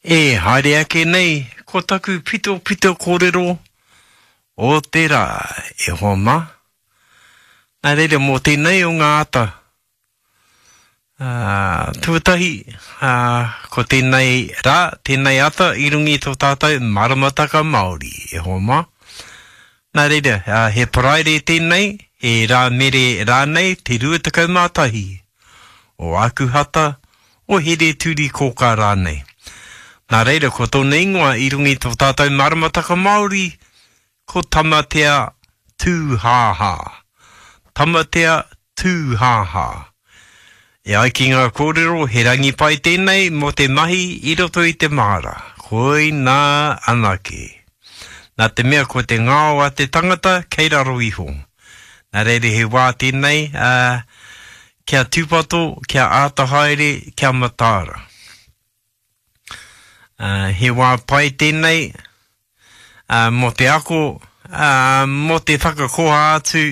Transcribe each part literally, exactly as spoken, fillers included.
E haere ake nei, ko taku pitopito kōrero o te rā, e hoa mā. Nā reira mō tēnei o ngā ata. Uh, tuatahi, uh, ko tēnei rā, tēnei ata i runga i tō tātou maramataka Māori, e hoa mā. Nā reira, uh, he Paraire tēnei, he Rāmere rānei, te rua tekau mā tahi o Ākuhata, o Here-turi-kōkā rānei. Nā reira, ko tōna ingoa i runga i tō tātou maramataka Māori, ko Tamatea Tūhāhā. Tamatea Tūhāhā. E ai ki ngā kōrero, he rangi pai tēnei mō te mahi i roto i te māra. Koinā anake. Nā te mea ko te ngao a te tangata kei raro iho. Nā reira he wā tēnei, ā, kia tūpato, kia āta haere, kia mataara. Uh, he wā pai tēnei, uh, mō te ako, uh, mō te whakakoha atu,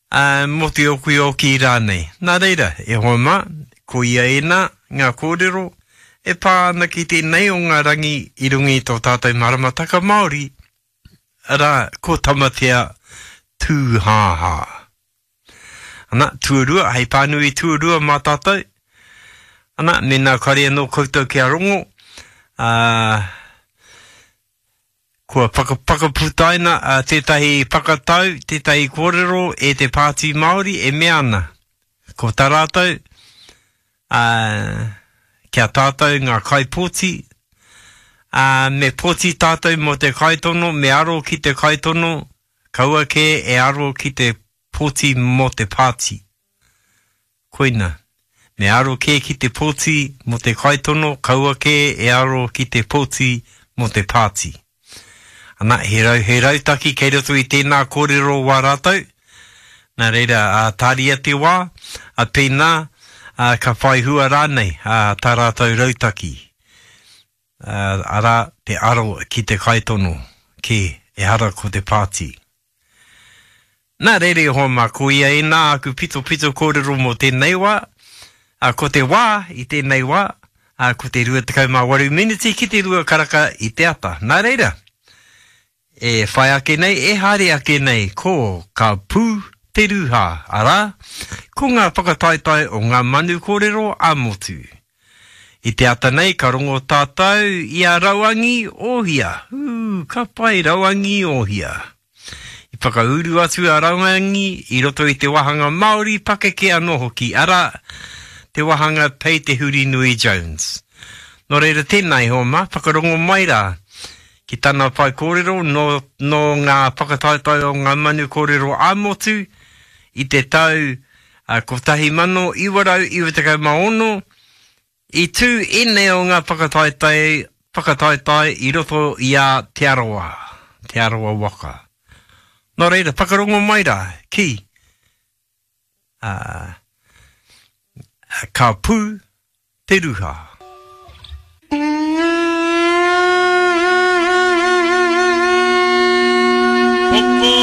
uh, mō te okioki rānei. Nā reira, e hoa mā, ko ia ēnā, ngā kōrero, e pā ana ki tēnei o ngā rangi i runga i tō tātou maramataka Māori, arā, ko Tamatea Tūhāhā. Ana, tuarua, hei pānui tuarua mā tātou. Ana, mēnā kare anō koutou kia rongo, ā, kua whakaputaina tētahi whakatau, tētahi kōrero e te Pāti Māori e mea ana. Ko tā rātou, ā, kia tātou ngā kaipōti, ā, me pōti tātou mō te kaitono, me aro ki te kaitono, kaua kē e aro ki te pōti mō te pāti. Koina. Me aro kē ki te pōti mō te kaitono, kaua kē e aro ki te pōti mō te pāti. Ana, he rau, he rautaki kei roto i tēnā kōrero wā rātou. Nā reira, ā, tāria te wā, ā, pēnā, ā, ka whai hua rānei, ā, tā rātou rautaki. Ā, arā, te aro ki te kaitono, kē, ehara ko te pāti. Nā reira e hoa mā, ko ia ēnā aku pitopito kōrero mō tēnei wā, ā, ko te wā i tēnei wā, ā, ko te rua tekau mā waru miniti ki te rua karaka i te ata. Nā reira, e whai ake nei, e haere ake nei, ko Ka Pū Te Rūhā, arā, ko ngā whakataetae o ngā manu kōrero ā-motu. I te ata nei ka rongo tātou i a Rauangi Ohia. Ū, ka pai Rauangi Ohia. I whakauru atu a Rauangi i roto i te wāhanga Māori pakeke anō hoki, arā, te wāhanga Pei Te Hurinui Jones. Nō reira tēnā e hoa mā, whakarongo mai rā ki tana whaikōrero nō, nō ngā whakataetae o ngā manu kōrero ā-motu i te tau kotahi mano iwa rau iwa tekau mā ono, I tū ēnei o ngā whakataetae, whakataetae i roto i a Te Arawa, Te Arawa waka. Nō reira, whakarongo mai rā, ki, ā, ka pū te ruha. Poko